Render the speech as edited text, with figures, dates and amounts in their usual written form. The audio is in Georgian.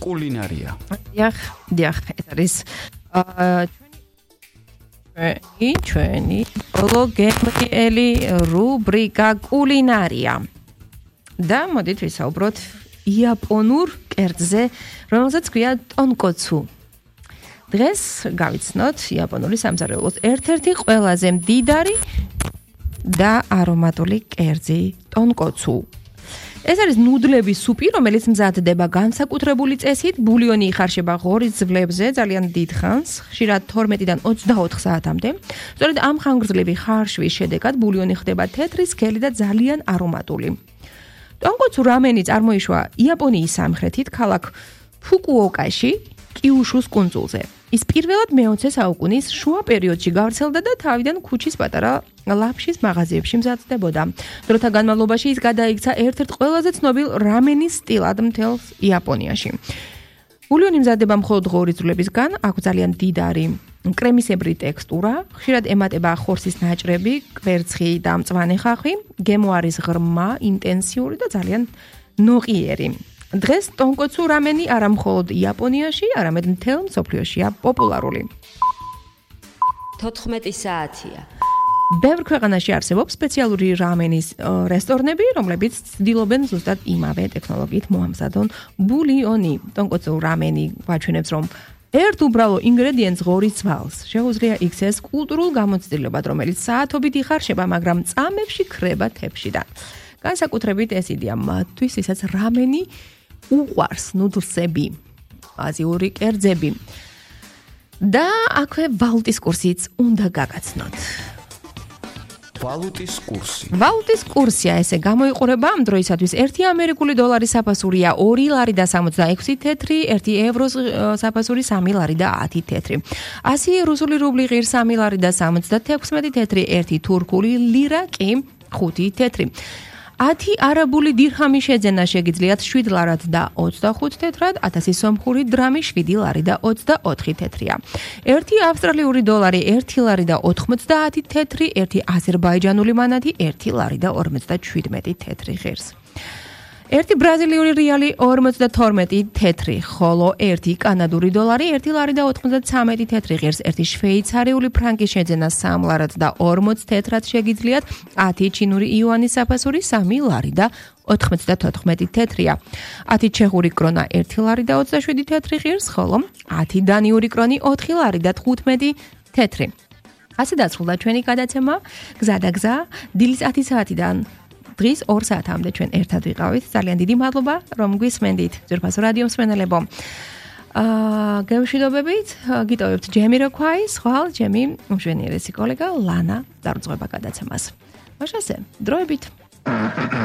კულინარია. დიახ, ეს არის ჩვენი ბოლოგემრიელი რუბრიკა კულინარია. და მოდით ვისაუბროთ იაპონურ კერძზე, რომელსაც ქვია ტონკოცუ. დღეს გავიცნოთ იაპონური სამზარეულოს ერთ-ერთი ყველაზე მდიდარი და არომატული კერძი ტონკოცუ. ეს არის ნუდლების სუპი, რომელიც მზადდება განსაკუთრებული წესით, ბულიონი იხარშება ღორის ძვლებზე ძალიან დიდ ხანს, ხშირად 12-დან 24 საათამდე. სწორედ ამ ხანგრძლივი ხარშვის შედეგად ბულიონი ხდება თეთრი, სქელი და ძალიან არომატული. ტონკოცუ რამენი წარმოიშვა იაპონიის სამხრეთით, ქალაქ ფუკუოკაში, კიუშუს კუნძულზე. ის პირველად მე-20 საუკუნის შუა პერიოდში გავრცელდა და თავიდან ქუჩის პატარა ლაფშის მაღაზიებში მზადდებოდა. დროთა განმავლობაში ის გადაიქცა ერთ-ერთ ყველაზე ცნობილ რამენის სტილად მთელს იაპონიაში. ბულიონი მზადდება მხოლოდ ღორის ძვლებისგან, აქვს ძალიან მდიდარი კრემისებრი ტექსტურა, ხშირად ემატება ხორცის ნაჭრები, კვერცხი და მწვანე ხახვი, გემო არის ღრმა, ინტენსიური და ძალიან ნოყიერი. დღეს ტონკოცუ რამენი არა მხოლოდ იაპონიაში, არამედ მთელ მსოფლიოშია პოპულარული. 14 საათია. ბევრ ქვეყანაში არსებობს სპეციალური რამენის რესტორნები, რომლებიც ცდილობენ ზუსტად იმავე ტექნოლოგიით მოამზადონ ბულიონი. ტონკოცუ რამენი გვაჩვენებს, რომ ერთ უბრალო ინგრედიენტს ღორის ძვალს შეუძლია იქცეს კულტურულ გამოცდილებად, რომელიც საათობით იხარშება, მაგრამ წამებში ქრება თეფშიდან. განსაკუთრებით ეს იდეა მათთვის, ვისაც რამენი უყვარს, ნუდლსები, აზიური კერძები. და აქვე ვალუტის კურსიც უნდა გაგაცნოთ. ვალუტის კურსი. ვალუტის კურსია ესე გამოიყურება ამ დროისათვის 1 ამერიკული დოლარი საფასურია 2 ლარი და 66 თეთრი, 1 ევროს საფასური 3 ლარი და 10 თეთრი. 100 რუსული რუბლი ღირს 3 ლარი და 76 თეთრი, 1 თურქული ლირა კი 5 თეთრი. 10 არაბული დირჰამი შეძენა შეგიძლიათ 7 ლარად და 25 თეთრად, 1000 სომხური დრამი 7 ლარი და 24 თეთრია. 1 ავსტრალიური დოლარი 1 ლარი და 90 თეთრი, 1 აზერბაიჯანული მანატი 1 ლარი და 57 თეთრი ღირს. 1 ბრაზილიური რეალი 52 თეთრი, ხოლო 1 კანადური დოლარი 1 ლარი და 93 თეთრი ღირს, 1 შვეიცარიული ფრანკი შეძენა 3 ლარად და 40 თეთრად შეგიძლიათ, 10 ჩინური იუანის საფასური 3 ლარი და 94 თეთრია. 10 ჩეხური კრონა 1 ლარი და 27 თეთრი ღირს, ხოლო 10 დანიური კრონი 4 ლარი და 15 თეთრი. ასე დასრულდა ჩვენი გადაცემა გზა და გზა დილის 10 საათიდან დღის 2 საათამდე ჩვენ ერთად ვიყავით. ძალიან დიდი მადლობა, რომ გვისმენდით, ძვირფასო რადიო მსმენელებო. გემშვიდობებით, გიტოვებთ ჯემიროქვაის, ხვალ ჩემი მშვენიერესი კოლეგა ლანა დარწმება გადაცემას. მაშასე, დროებით.